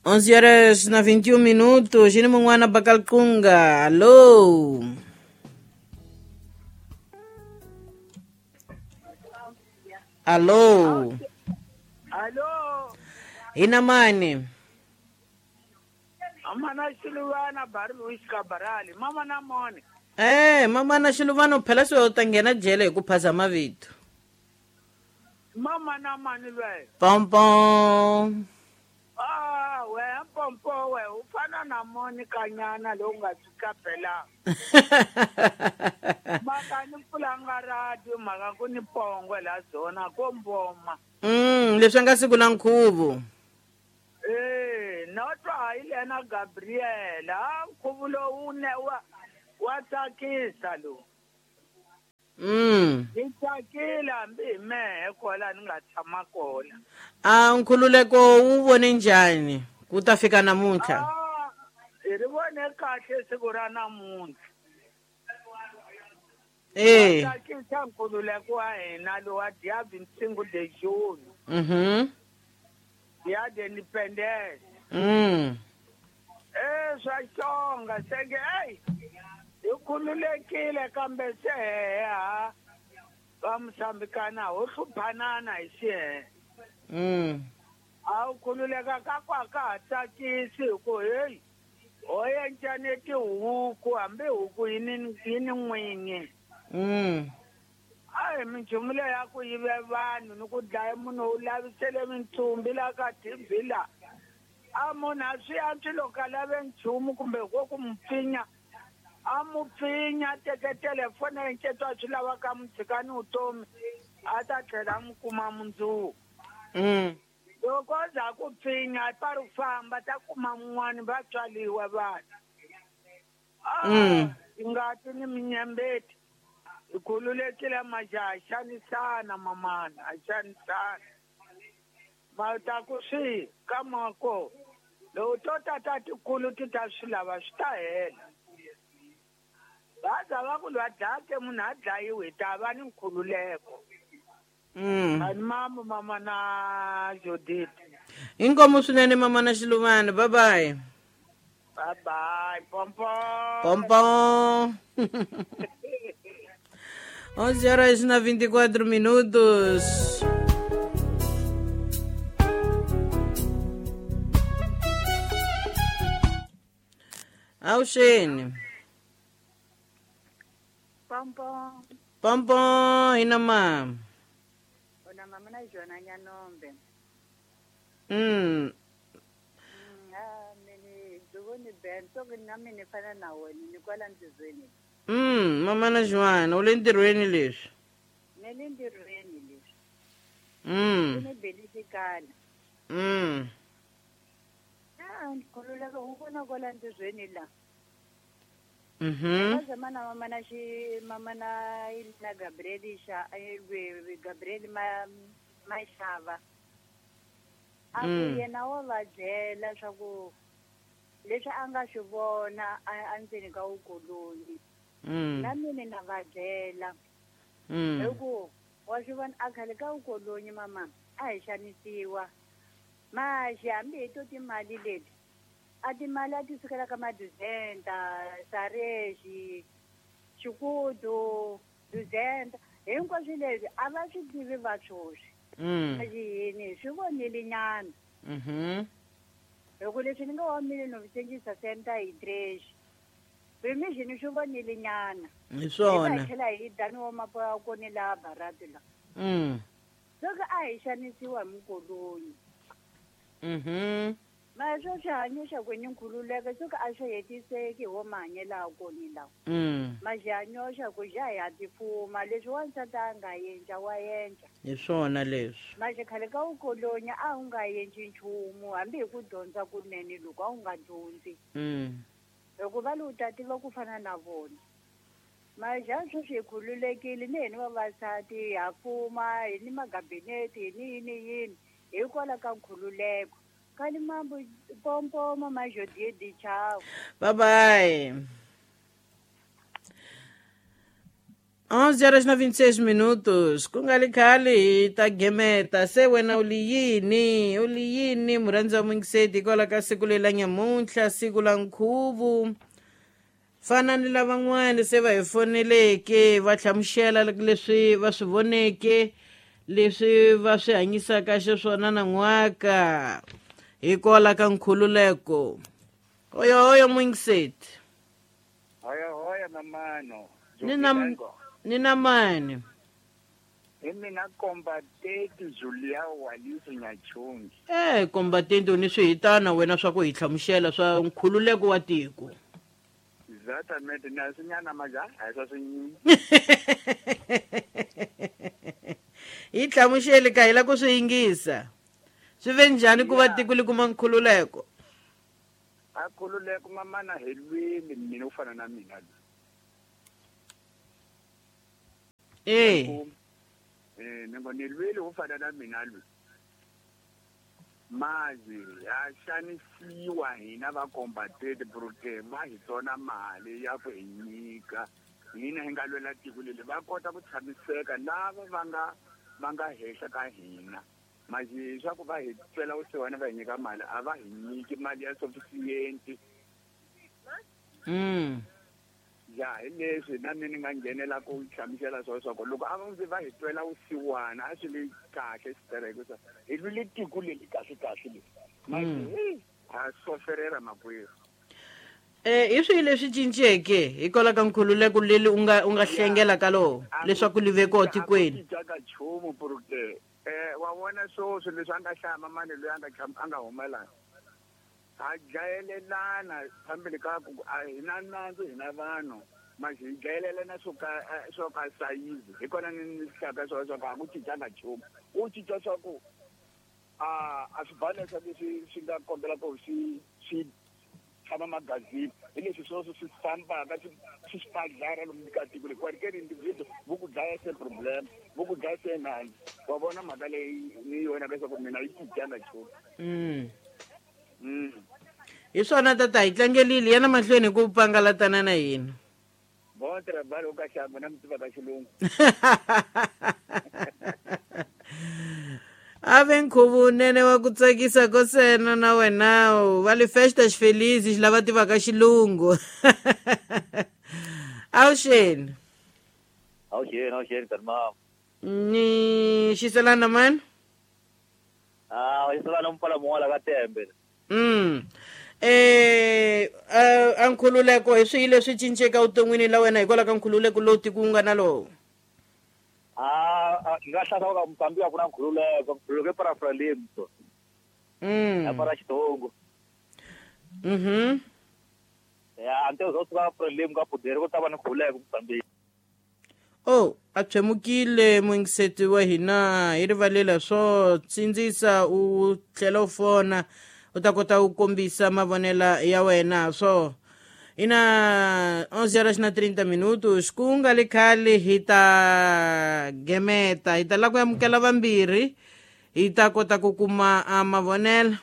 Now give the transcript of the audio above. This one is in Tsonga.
11 horas na 21 minutos. Jini mungwana Bakalkunga. Alô. Alô. Alô. Ina mani. Mama Xiluvana bari Luis Cabarali. Mama na mone. Mama na Xiluvana phela swi u ta nghena jele hi ku phasa mavito. Mama na mani lwe. Pom pom. Ah, we mpompo we u fana na Monica nyana lowu nga fika phela. Maka ni pfulanga radio mhaka ku ni pongwe la zona ko mboma. Leswi nga siku la nkhuvo. No twa hi lena Gabriela, nkhuvo lowu ne wa tsakisa lowu. Ni tsakile hambi hi mehe kwala ni nga tshama kona. A nkhululeko wu vone njhani ku ta fika namuntlha? Hi ri vone kahle siku ra namuntlha. Tsakisa nkhululeko wa hina lowa dia 25 de June. Dia de Independence. Swa xonga senge ey hi khululekile kambe se ha va Mosambikana ho hluphanana hi xihehe. A wu khululeka ka ku a ka ha tsakisi hi ku heyi ho encane tihuku hambi huku yi ni n'winyi. A hi minchumu leyi ya ku yive vanhu ni ku dlaya munhu u lavisele mintsumbi la ka TV la. A munhu a swi antswi loko a lave nchumu kumbe ko ku mu pfinya a mu pfinya teke telefoni enceto a swi lavaka mu tshika ni vutomi a ta tlhela a mu kuma mundzuku. Loko a za ku pfinya pa ri famba ta kuma mun'wani va tswaliwa vanhu. Ngati ni minyembeti hi khululekile majaha a xanisana mamana a xanisana. Ma ta ku swi ka mako loko to tata tikulu ti ta swi lava swi ta hela. Va za va ku lwa dlake munhu a dlayiwi hi ta va ni nkhululeko. Ani mamu mama na Judith. Inkomu swinene mama na Xiluvana. Bye bye. Bye bye. Pompo. Pompo. 11 horas na 24 minutos. Auxene. Pompo. Pompo ina ma. Ona mama na Jona Nyanombe. Mini dugoni bento na mini fana na wena ni kwala ntirhweni. Mama na Joana u le ntirhweni leswi. Ni le ntirhweni leswi. Ni belisikana. Nkhululeko wu vona kwala ntirhweni la. Mana mama na xi mama na na Gabriel xa Gabriel Mashava. A ku yena wa va byela swa ku leswi a nga swi vona endzeni ka vukoloni. Na mina na va byela. Hi ku wa swi vona a khale ka vukoloni mama a hi xanisiwa. Maxi hambi hi to timali leti a timali a ti sukela ka maduzenta, sarexi, xikudu, duzenta hinkwaswo leswi a va swi tivi va swoswi. Maxi yini swi vonile nyana. Hi ku leswi ni nga wa mile no sengisa senta hi trash. Vimixini swi vonile nyana. Hi swona. Hi tlhela hi dani wa mapoya koni laha barati la. Loko a hi xanisiwa hi mukoloni. Ma swo swi hanyisa ku ni nkhululeko swo ka a swi hetiseki ho mahanyelo a koni lawa. Ma xi hanyoxa ku xa hi ha tifuma leswi wansati a nga endla wa endla. Hi swona leswi. Ma xi khale ka vukoloni a wu nga endli nchumu hambi hi ku dyondza kunene loko a wu nga dyondzi. Hikuva lowu ta tiva ku fana na vona. Ma xa sweswi hi khululekile ni hina vavasati ha fuma hi ni magabinete hi ni yini yini hikwalaho ka nkhululeko. Kali mambo pompo mama Jodie di chao. Bye bye. 11 horas na 26 minutos. Ku nga li khale hi ta gemeta. Se wena u li yini? U li yini murhandzi wa muyingiseti hikwalaho ka siku leri la nyamuntlha, siku la nkhuvu. Fana ni lavan'wana se va hi foneleke va hlamusela leswi va swi voneke, leswi va swi hanyisaka xiswona nan'waka hikwalaho ka nkhululeko. Hoyo hoyo muyingiseti. Hoyo hoyo mamano. Ni na mani? Hi mina Kombatenti Julia Walisi Nyachungi. Kombatenti u ni swihitana wena swa ku hi hlamusela swa nkhululeko wa tiko. Exactamente, na swinyana maja a hi swa swinyingi. Hi hlamuseli ka hi la ku swi yingisa. Swi ve njhani ku va tiko li kuma nkhululeko? A nkhululeko mamana hi lwile mina u fana na mina. Ni ngo ni lwile u fana na mina lwi. Mazi ya xanisiwa hina va Kombatenti brute va hi tsona mali ya ku hi nyika hina hi nga lwela tiko leri va kota ku tshamiseka lava va nga henhla ka hina. Mazi swa ku va hi twela vusiwana va hi nyika mali a va hi nyiki mali ya sufficient. Ya hi leswi na mina ni nga nghenela ku hlamusela swona swa ku loko a va ndzi va hi twela vusiwana a swi le kahle xitereko swa hi lwile tiko leri kahle kahle leri manje ha soferera makwerhu. Hi swihi leswi cinceke hikwalaho ka nkhululeko leri u nga hlengela ka lowo leswaku li ve kona tikweni? Cinca ka nchumu porque wa vona swoswi leswi a nga hlaya mamani loyi a nga humela ha dlayelelana phambili ka ku a hi na nandzu hina vanhu manje hi dlayelelana swo ka sayizi hi kona ni hlaka swo swa ku a ku cincanga nchumu. U cinca swa ku a swi balesa leswi swi nga kombela ku swi tshama magazini hi leswi swoswo swi fambaka swi spadlara lomu ka tiko leri kwalikeni individu vo ku dlaya se problem vo ku dlaya se nandzu. Wa vona mhaka leyi ni yona leswaku mina yi cincanga nchumu. Hi swona tata hi tlangelile yana mahlweni ku pangalatana na hina. Bon trabalho ka xamba na mi tiva ka xilungu. A ve nkhuvo wunene wa ku tsakisa ko sena na wena va le festas felizes lava tivaka xilungu. Awuxeni. Awuxeni mama. Ni xiselana mani? Xiselana mpfala mun'wana ka Tembe. A nkhululeko hi swihi leswi cinceke evuton'wini la wena hikwalaho ka nkhululeko lowu tiko wu nga na lowo? Hi nga hlasa ka Mozambique a ku na nkhululeko, nkhululeko i para Frelimo. Ya para Xitsongo. Ya until zo suka Frelimo ka poder ku ta va ni nkhululeko Mozambique. Oh, a tshemukile muyingiseti wa hina hi rivalela swo tsindzisa u tlhela u fona u ta kota ku kombisa mavonelo ya wena swo. Ina 11 horas na 30 minutos ku nga le khale hi ta gemeta hi ta lava ku amukela vambirhi hi ta kota ku kuma mavonelo.